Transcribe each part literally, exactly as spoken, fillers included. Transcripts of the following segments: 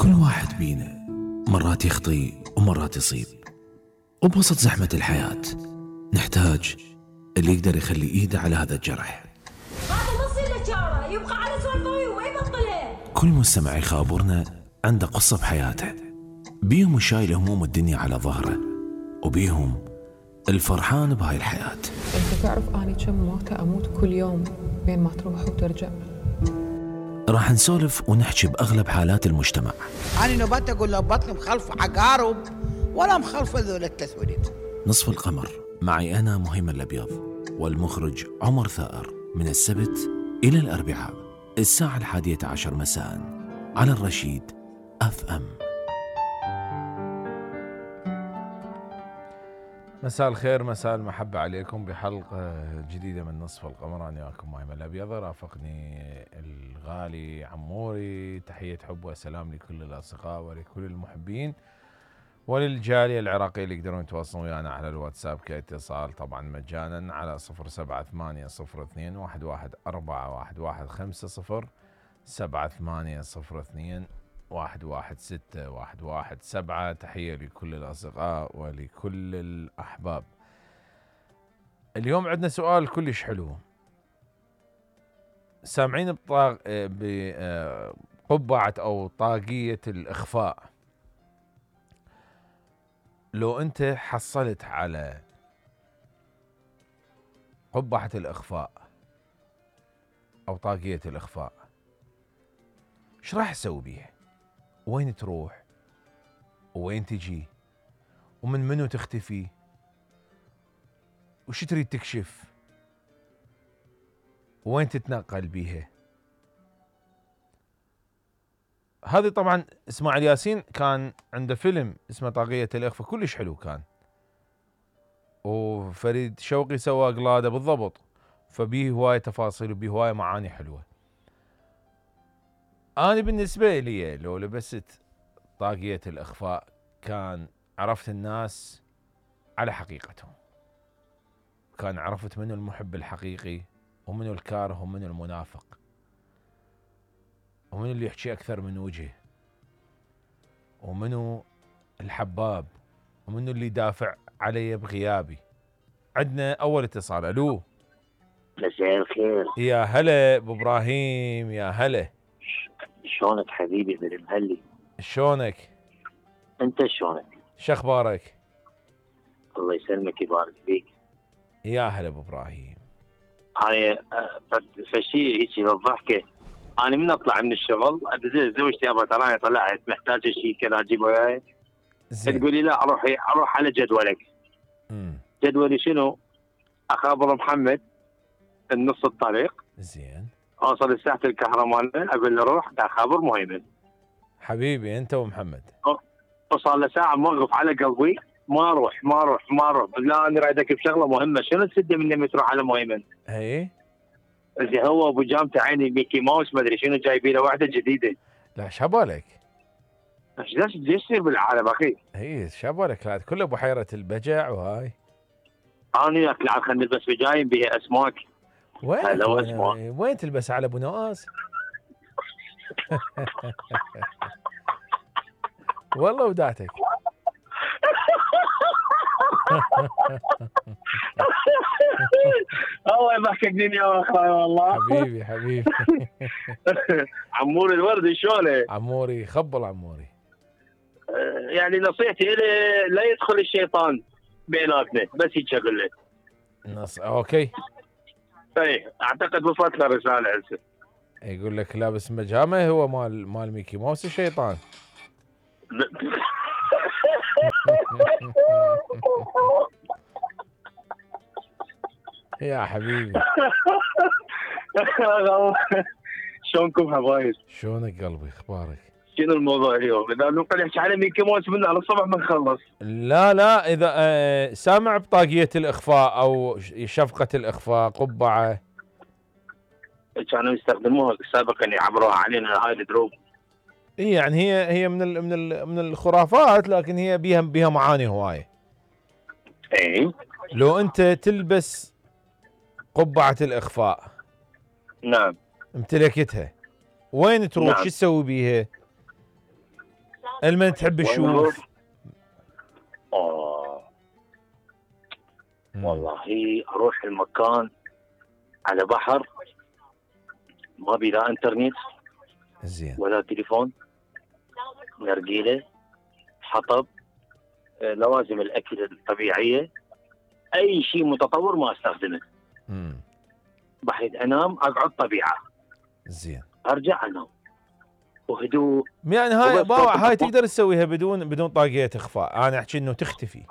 كل واحد بينا مرات يخطي ومرات يصيب، وبوسط زحمة الحياة نحتاج اللي يقدر يخلي ايده على هذا الجرح. هذا نص اللي جاره يبقى على سوالفه وما يبطلها. كل مستمع يخابرنا عنده قصة بحياته، بيهم شايل هموم الدنيا على ظهره، وبيهم الفرحان بهاي الحياة. انت تعرف اني كم موتة اموت كل يوم بين ما تروح وترجع. راح نسولف ونحكي بأغلب حالات المجتمع. أنا نبات أقول له بطني مخلف عقارب ولا مخلف ذول التسوليد. نصف القمر معي أنا مهيمن الأبيض والمخرج عمر ثائر، من السبت إلى الأربعاء الساعة الحادية عشر مساء على الرشيد أف أم. مساء الخير، مساء المحبة عليكم بحلقة جديدة من نصف القمر. أنا وياكم مهيمن الأبيض، رافقني الغالي عموري. تحية حب وسلام لكل الأصدقاء ولكل المحبين وللجالية العراقية اللي يقدرون يتواصلون ويانا على الواتساب كاتصال طبعا مجانا على صفر سبعة ثمانية صفر اثنين واحد واحد أربعة واحد واحد خمسة صفر سبعة ثمانية صفر اثنين واحد واحد ستة واحد واحد سبعة. تحية لكل الأصدقاء ولكل الأحباب. اليوم عندنا سؤال كلش حلو. سامعين بطاق بقبعة أو طاقية الإخفاء. لو أنت حصلت على قبعة الإخفاء أو طاقية الإخفاء، ايش راح تسوي بيها؟ وين تروح؟ وين تجي؟ ومن منو تختفي؟ وش تريد تكشف؟ وين تتنقل بيها؟ هذه طبعا اسماعيل ياسين كان عنده فيلم اسمه طاقية الإخفاء، كلش حلو كان، وفريد شوقي سوى قلادة بالضبط، فبيه هواية تفاصيل وبيه هواية معاني حلوة. أنا بالنسبة لي لو لبست طاقية الإخفاء كان عرفت الناس على حقيقتهم، كان عرفت منو المحب الحقيقي ومنو الكاره ومنو المنافق ومنو اللي يحكي أكثر من وجهه ومنو الحباب ومنو اللي دافع علي بغيابي. عندنا أول اتصال. ألو، مساء الخير. يا هلا أبو إبراهيم، يا هلا. شلونك حبيبي من المهلي؟ شلونك؟ انت شلونك؟ شخبارك؟ الله يسلمك يبارك فيك. يا هلا ابو ابراهيم. انا فشي هيك للضحكه، انا من اطلع من الشغل ادز زوجتي ابا ترى انا طلعت محتاجه شيء كذا اجيبه وياي، تقول لي لا اروح اروح على جدولك. امم جدولي شنو؟ اخابر محمد النص الطريق. زين. اوصل لساحه الكهرمان اقول له روح اخابر مهيمن. حبيبي انت ومحمد. وصل له ساعه موقف على قلبي، ما اروح ما اروح ما اروح. لا انا رايدك بشغله مهمه. شنو تسد مني لما تروح على مهيمن؟ اي زين. هو ابو جامته عيني ميكي ماوس ما ادري شنو جايبين له واحده جديده. لا شبالك؟ ايش يصير بالعالم اخي؟ اي شبالك، لا كله بحيره البجع وهاي. انا وياك لا خلينا نلبس بجايم بها اسماك. وين وين تلبس على ابو نواس؟ والله ودعتك. الله يضحكني يا اخوي والله. حبيبي حبيبي. عموري الورد شلونه؟ عموري خبل عموري. يعني نصيحتي له لا يدخل الشيطان بيناتنا، بس هيك اقول لك. نص اوكي. اي اعتقد وصلت له رساله هسه. يقول لك لابس مجامه هو مال مال ميكي ماوس الشيطان. يا حبيبي. شلونكم حبايب؟ شلونك قلبي؟ اخبارك؟ شنو الموضوع اليوم؟ اذا نبقى نحكي على ميكي ماوس من على الصبح ما نخلص. لا لا اذا آه سامع بطاقية الاخفاء او شفقة الاخفاء قبعة كانوا يستخدموها سابقا يعبروها علينا هاي الدروب. اي يعني هي هي من ال من ال من الخرافات، لكن هي بيها بيها معاني هوايه. اي لو انت تلبس قبعة الاخفاء، نعم، امتلكتها، وين تروح؟ نعم. شو تسوي بيها؟ المن تحب تشوف؟ اه مم. والله اروح المكان على بحر، ما بي لا انترنت زين. ولا تليفون، نرجيله، حطب، آه، لوازم الاكل الطبيعيه، اي شيء متطور ما استخدمه. امم بحيث انام اقعد طبيعه، زين. ارجع انام وهدوء. يعني هاي وبس باوع صوت هاي الطبخ. تقدر تسويها بدون بدون طاقية اخفاء، انا احكي انه تختفي.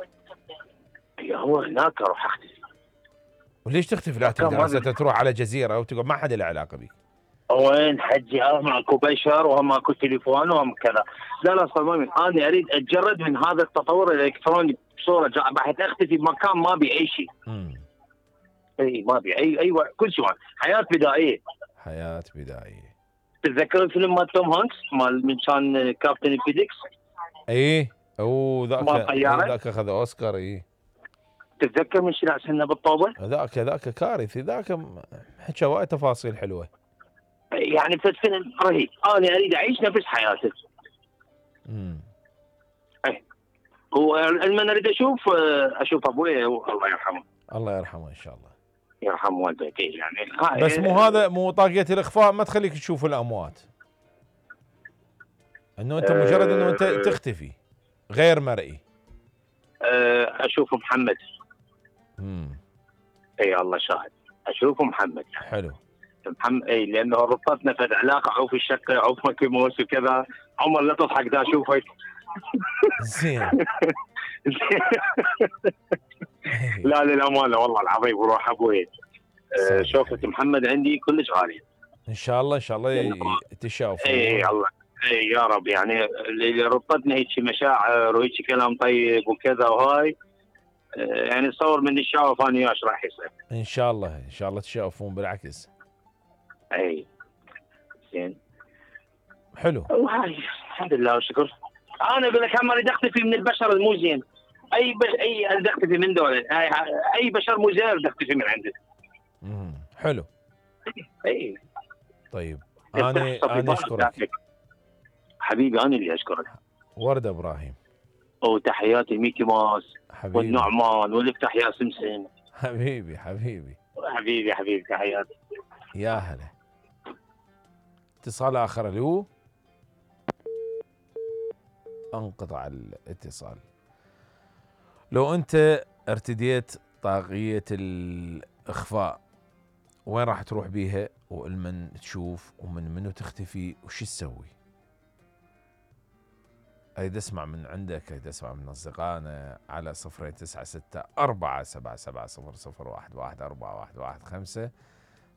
هي هو هناك اروح اختفي. وليش تختفي؟ لا مكان تقدر ما هسه بي- تروح على جزيرة وتقعد ما حدا له علاقة بك. وين حجي؟ اه ماكو بشر وهم ماكو تليفون وهم كذا. لا لا صمامي، انا اريد اتجرد من هذا التطور الالكتروني بصوره جا- بحيث اختفي بمكان ما بي اي شيء. امم اي ما بي اي اي و- كل شيء، حياه بدائيه. حياة بدائية. تتذكر الفيلم مال توم هانكس مال من كان كابتن فيديكس؟ ايه اوه ذاك مال طيارة؟ إيه ذاك اخذ اوسكار. ايه تتذكر من شنو سنه بالطوبه؟ ذاك ذاك كارثي، ذاك م- حكى وايد تفاصيل حلوة. يعني فد فيلم رهيب، انا اريد اعيش نفس حياته. امم ولما اريد اشوف اشوف ابوي الله يرحمه. الله يرحمه ان شاء الله. يرحم والديك يعني. هاي بس مو هذا مو طاقية الاخفاء ما تخليك تشوف الاموات، انه انت مجرد انه انت أه تختفي غير مرئي. أه اشوف محمد. امم اي الله شاهد، اشوف محمد. حلو. محمد اي لانه ربطتنا في علاقه، عوف الشقه، عوف مكي موس وكذا. عمر لا تضحك دا اشوفك. زين. لا للامانه والله العظيم وروح ابوي. أه صحيح. شوفة محمد عندي كلش غاليه. ان شاء الله ان شاء الله ي- تشافوا. اي الله اي يا رب، يعني اللي ربطتنا هيك مشاعر وهيك كلام طيب وكذا وهاي. أه يعني تصور من الشاوف انا وياه ايش راح يصير. ان شاء الله ان شاء الله تشافون بالعكس. اي زين. حلو. وهاي الحمد لله والشكر. انا اقول لك هم اريد اختفي من البشر مو زين. اي بش... اي اريد اختفي من دول، اي, أي بشر مو زين اريد اختفي من عنده. امم حلو. اي طيب انا انا اشكرك حبيبي، انا اللي اشكرك. ورده ابراهيم. وتحياتي ميكي ماوس حبيبي والنعمان والافتح يا سمسم. حبيبي حبيبي حبيبي حبيبي تحياتي. يا هلا. اتصال اخر اللي هو انقطع الاتصال. لو انت ارتديت طاقية الاخفاء وين راح تروح بيها؟ والمن تشوف ومن منو تختفي وش تسوي؟ اريد اسمع من عندك، اريد اسمع من اصدقائنا على صفرين تسعة ستة أربعة سبعة سبعة صفر صفر واحد واحد أربعة واحد واحد خمسة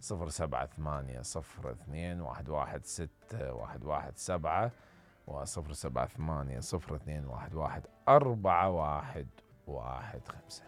صفر سبعة ثمانية صفر اثنين واحد واحد ستة واحد واحد سبعة وصفر سبعة ثمانية صفر اثنين واحد واحد أربعة واحد واحد خمسة.